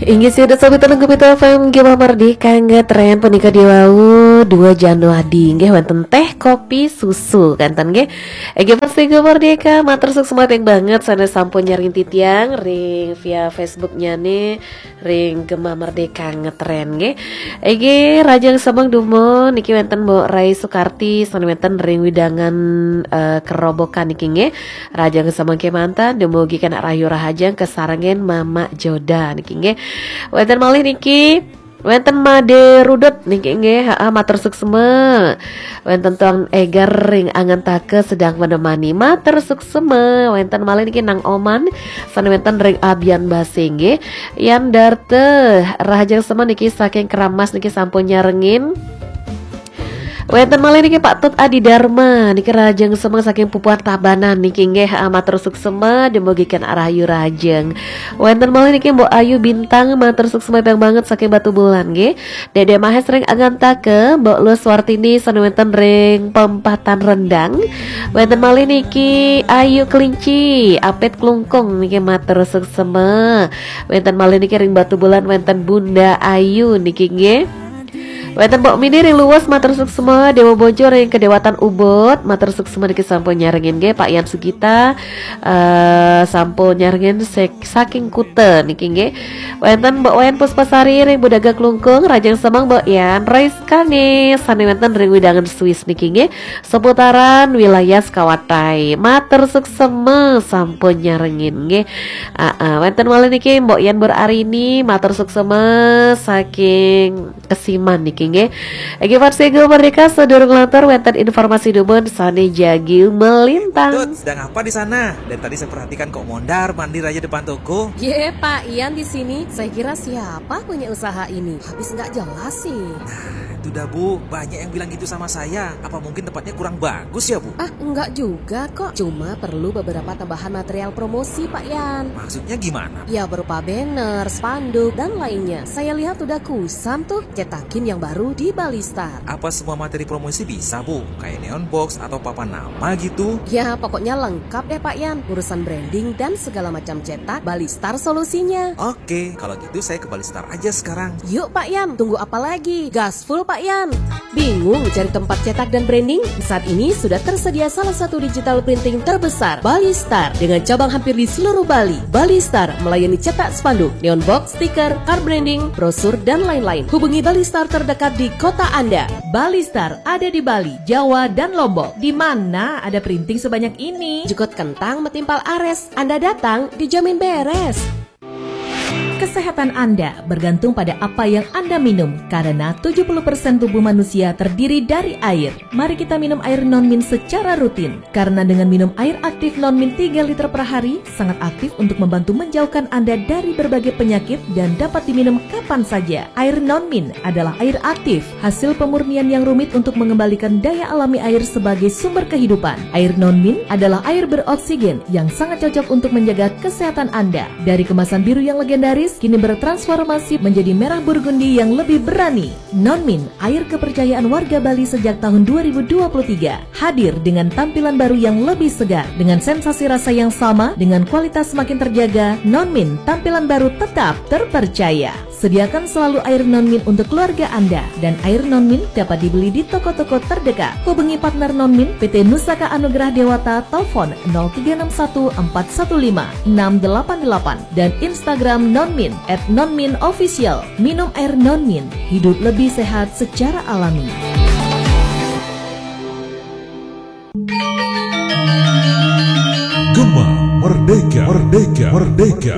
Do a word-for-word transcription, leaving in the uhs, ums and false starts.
Inggih, sida sobat Telenggu Pitu F M, Gema Merdeka ngetren punika diwau dua Januari nggih, wonten teh kopi susu kanten nggih. Inggih, pasti Gema Merdeka, matur suksma banget sané sampun nyarengin titiang ring via Facebook-nyane ring Gema Merdeka ngetren nggih. Inggih, rahajeng semeng dumun niki wonten Mbok Rai Sukarti sané wonten ring wewidangan, eh, Kerobokan niki nggih. Rahajeng semeng kemanten, dumugi kenak rahayu rahajeng kasarengin Mama Joda niki nggih. Wonten malih niki, wonten Made Rudut niki nggih, ha, matur suksma. Wonten Tuan Egar ring Angantaka sedang menemani, matur suksma. Wonten malih niki Nang Oman, sané wonten ring Abian Base nggih. Yan Darte, rahajeng semeng niki saking Keramas niki sampun nyarengin. Wonten malih niki Pak Tut Adi Dharma, niki rahajeng semeng saking Pupuan Tabanan niki nggih, ah, matur suksma, dumugi kenak rahayu rahajeng. Wonten malih niki Mbok Ayu Bintang, matur suksma banget saking Batubulan nggih. Dede Mahes ring Angantaka, Mbok Lus Wartini sané wonten ring Pempatan Rendang. Wonten malih niki Ayu Kelinci, Apit Klungkung niki matur suksma. Wonten malih niki ring Batubulan wonten Bunda Ayu niki nggih. Wonten Mbok Mini ring Luwes, matur suksma. Dewa Bojo ring Kedewatan Ubud, matur suksma niki sampun nyarengin nggih. Pak Yan Sugita, eh, sampun nyarengin sek-, saking Kuta niki nggih. Wonten Mbok Wayan Puspasari ring Budaga Klungkung, rahajeng semeng Mbok Yan. Rais Kane sané wonten ring wewidangan Swiss niki nggih. Seputaran wilayah Sekawatai. Matur suksma sampun nyarengin nggih. Ah, ah, wonten malih niki Mbok Yan Bur Arini, matur suksma saking Kesiman niki nggih. Nggih, pasti Gema Merdeka, sadurung lantur wonten informasi dumun sané jagi melintang. Tut, sedang apa di sana? Dari tadi saya perhatikan kok mondar-mandir aja depan toko. Ye, Pak Yan di sini. Saya kira siapa punya usaha ini? Habis nggak jelas sih. Nah, itu dah, Bu. Banyak yang bilang gitu sama saya. Apa mungkin tempatnya kurang bagus ya, Bu? Ah, enggak juga kok. Cuma perlu beberapa tambahan material promosi, Pak Yan. Maksudnya gimana? Ya, berupa banner, spanduk, dan lainnya. Saya lihat udah kusam tuh. Cetakin yang baru di Balistar. Apa semua materi promosi bisa, Bu? Kayak neon box atau papan nama gitu? Ya, pokoknya lengkap deh, Pak Yan. Urusan branding dan segala macam cetak, Balistar solusinya. Oke, kalau gitu saya ke Balistar aja sekarang. Yuk, Pak Yan. Tunggu apa lagi? Gas full, Pak Yan. Bingung cari tempat cetak dan branding? Saat ini sudah tersedia salah satu digital printing terbesar, Balistar, dengan cabang hampir di seluruh Bali. Balistar melayani cetak spanduk, neon box, stiker, card branding, brosur, dan lain-lain. Hubungi Balistar terdekat di kota Anda. Balistar ada di Bali, Jawa, dan Lombok. Di mana ada printing sebanyak ini? Jukut kentang metimpal ares. Anda datang, dijamin beres. Kesehatan Anda bergantung pada apa yang Anda minum, karena tujuh puluh persen tubuh manusia terdiri dari air. Mari kita minum air non-min secara rutin, karena dengan minum air aktif non-min tiga liter per hari, sangat aktif untuk membantu menjauhkan Anda dari berbagai penyakit dan dapat diminum kapan saja. Air non-min adalah air aktif, hasil pemurnian yang rumit untuk mengembalikan daya alami air sebagai sumber kehidupan. Air non-min adalah air beroksigen yang sangat cocok untuk menjaga kesehatan Anda. Dari kemasan biru yang legendaris, kini bertransformasi menjadi merah burgundi yang lebih berani. Non-min, air kepercayaan warga Bali sejak tahun dua ribu dua puluh tiga, hadir dengan tampilan baru yang lebih segar, dengan sensasi rasa yang sama, dengan kualitas semakin terjaga. Non-min, tampilan baru tetap terpercaya. Sediakan selalu air non-min untuk keluarga Anda, dan air non-min dapat dibeli di toko-toko terdekat. Hubungi partner non-min, P T Nusaka Anugerah Dewata, telepon nol tiga enam satu empat satu lima enam delapan delapan, dan Instagram non-min at non-min official. Minum air non-min, hidup lebih sehat secara alami. Gema Merdeka, Merdeka, Merdeka.